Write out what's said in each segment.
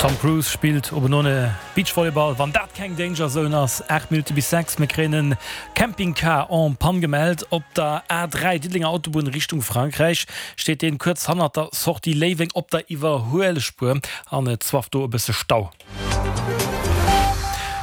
Tom Cruise spillt obenone Beachvolleyball, wann dat keng Danger Zone ass. 8 Minutte bis 6, mir kréien en Campingcar en panne gemellt op der A3 Diddelenger Autobunn Richtung Frankräich. Steet deen kuerz hannert der Sortie Léiweng op der Iwwerhuelspuer an et zwafft do e bësse Stau.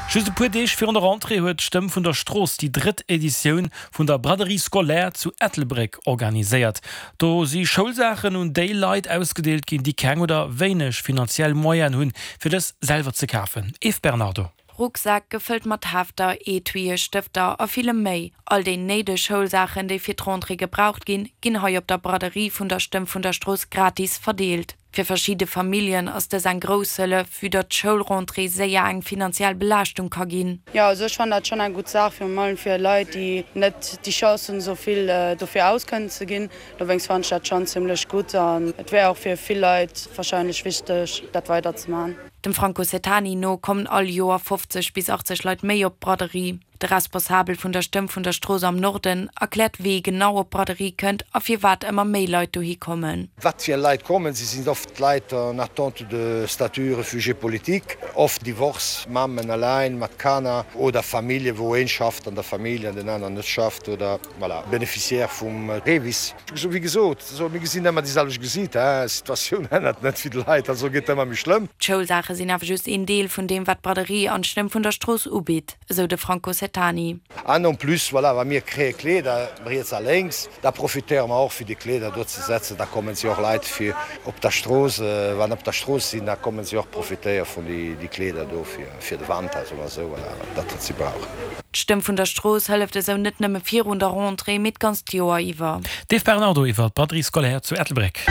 Just e puer Deeg virun der Rentrée huet d'Stëmm vun der Strooss déi drëtt Editioun vun der Braderie scolaire zu Ettelbréck organiséiert. Do si Schoulsaachen un déi Leit ausgedeelt ginn, déi keng oder wéineg finanziell Moyenen hunn, fir dës selwer ze kafen. Eve Bernardo. Rucksäck gefëllt mat Hefter, Etuië, Stëfter a villem méi. All déi néideg Schoulsaachen, déi fir d'Rentrée gebraucht ginn, ginn hei op der Braderie vun der Stëmm vun der Strooss gratis verdeelt. Fir verschidde Familljen ass dës eng grouss Hëllef, vue datt d'Schoulrentrée séier eng finanziell Belaaschtung ka ginn. Jo, also ech fannen dat schonn eng gutt Saach, virun allem fir Leit, déi net déi Chance hunn, esou vill dofir aus kënnen ze ginn. Dowéinst fannen ech dat schonn zimmlech gutt an et wär och fir vill Leit warscheinlech wichteg, dat weider ze maachen. Dem Franco Setani no kommen all Joer 50 bis 80 Leit méi op d'Braderie. De Responsabel vun der Stëmm vun der Strooss am Norden erkläert wee genau op d'Braderie kënnt a firwat ëmmer méi Leit dohi kommen. Wat fir Leit kommen? Si sinn oft Leit en attente de statut réfugié politique, oft Divorce, Mammen allein mat Kanner oder Famillje wou een schafft an der Famill an den aneren net schafft oder voilà, Bénéficiaire vum REVIS. Wéi gesot, mir gesinn ëmmer déi selwecht Gesiiter, d'Situatioun ännert net fir d'Leit, also gëtt ëmmer méi schlëmm. D'Schoulsaache sinn awer just een Deel vun deem wat d'Braderie an d'Stëmm vun der Strooss ubitt. Esou de Franco Setani. An en plus, voilà, wa mir kréie Kleeder riets a lénks, da profitéiere mer och fir déi Kleeder do ze setzen. Da kommen si och Leit fir op der Strooss, wann op der Strooss sinn, da kommen si och profitéiere vun déi Kleeder do fir de Wanter, soe mer esou, voilà, dat wat si brauchen. D'Stëmm vun der Strooss hëlleft esou net nëmme virun der Rentrée, mee d'ganzt Joer iwwer. D'Eve Bernardo iwwer d'Braderie scolaire zu Ettelbréck.